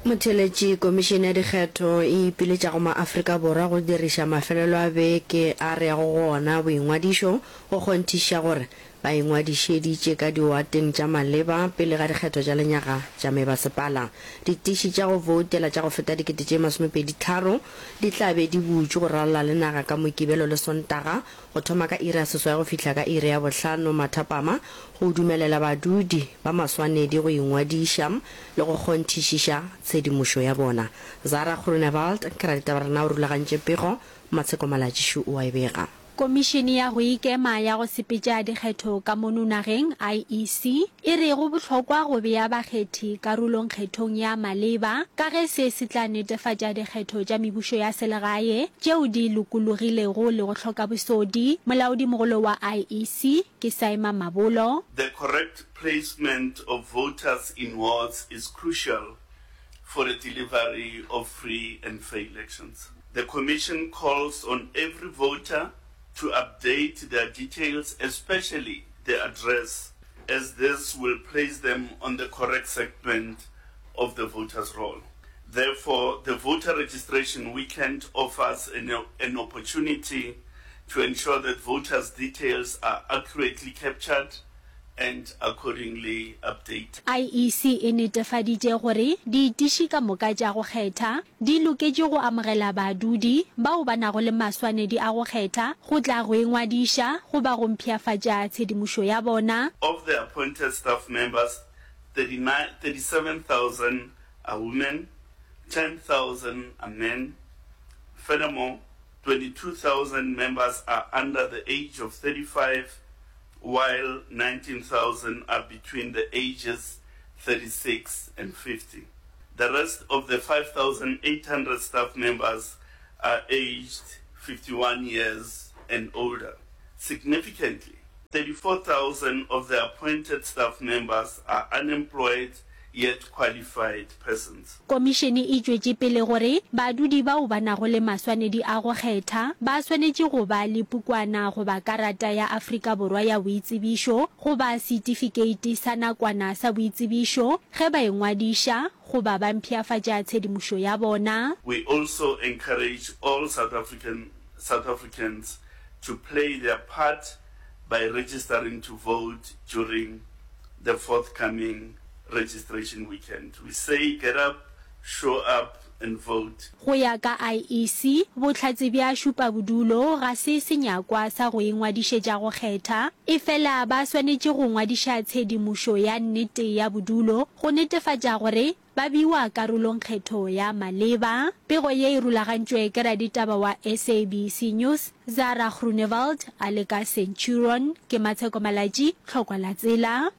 Motheeletši, Komišene ya Dikgetho e ipiletša go maAfrika Borwa go diriša mafelelo a beke a re yago go ona boingwadišo go kgonthišiša gore ba ingwadišeditše ka diwateng tša maleba pele ga dikgetho tša lenyaga tša mebasepala. Ditiši tša go voutela tša go feta 2023 di tla be di butšwe go ralala le naga ka Mokibelo le Sontaga go thoma ka iri ya seswai go fihla ka iri ya bohlano mathapama go dumelela badudi ba maswanedi go ingwadiša le go kgonthišiša tshedimošo ya bona. Zara Groenewald, ke raditaba rena o rulagantše pego, Matsheko Malatšišu o a e bega. Komišene ya go Ikema ya go Sepetša Dikgetho ka mono nageng, IEC, e re go bohlokwa go bea bakgethi karolong kgethong ya maleba ka ge se se tla netefatša dikgetho tša mebušo ya selegae tšeo di lokologilego le go hloka bosodi. Molaodimogolo wa IEC ke Saima Mabolo. The correct placement of voters in wards is crucial for the delivery of free and fair elections. The commission calls on every voter to update their details, especially the address, as this will place them on the correct segment of the voters' roll. Therefore, the voter registration weekend offers an, an opportunity to ensure that voters' details are accurately captured and accordingly updated. IEC e netefaditše gore diitiši ka moka tša go kgetha di loketše go amogela badudi bao ba nago le maswanedi a go kgetha go tla go ingwadiša goba go mpshafatša tshedimošo ya bona. Of the appointed staff members, 37,000 are women, 10,000 are men. Furthermore, 22,000 members are under the age of 35 while 19,000 are between the ages 36 and 50. The rest of the 5,800 staff members are aged 51 years and older. Significantly, 34,000 of the appointed staff members are unemployed yet qualified persons. Komišene e tšwetše pele gore badudi bao ba nago le maswanedi a go kgetha ba swanetše go ba le pukwana goba karata ya Afrika Borwa ya boitsebišo goba setifikeiti sa nakwana sa boitsebišo ge ba ingwadiša goba ba mpshafatša tshedimošo ya bona. We also encourage all South African South Africans to play their part by registering to vote during the forthcoming registration weekend. We say get up, show up and vote. Go ya ka IEC, bohlatse bja šupabodulo ga se senyakwa sa go ingwadišetša go kgetha, efela ba swanetše go ngwadiša tshedimošo ya nnete ya bodulo go netefatša gore ba bewa karolong kgetho ya maleba. Pego ye e rulagantšwe ke raditaba wa SABC News, Zara Groenewald a le ka Centurion. Ke Matsheko Malatji, Tlhokwa la Tsela.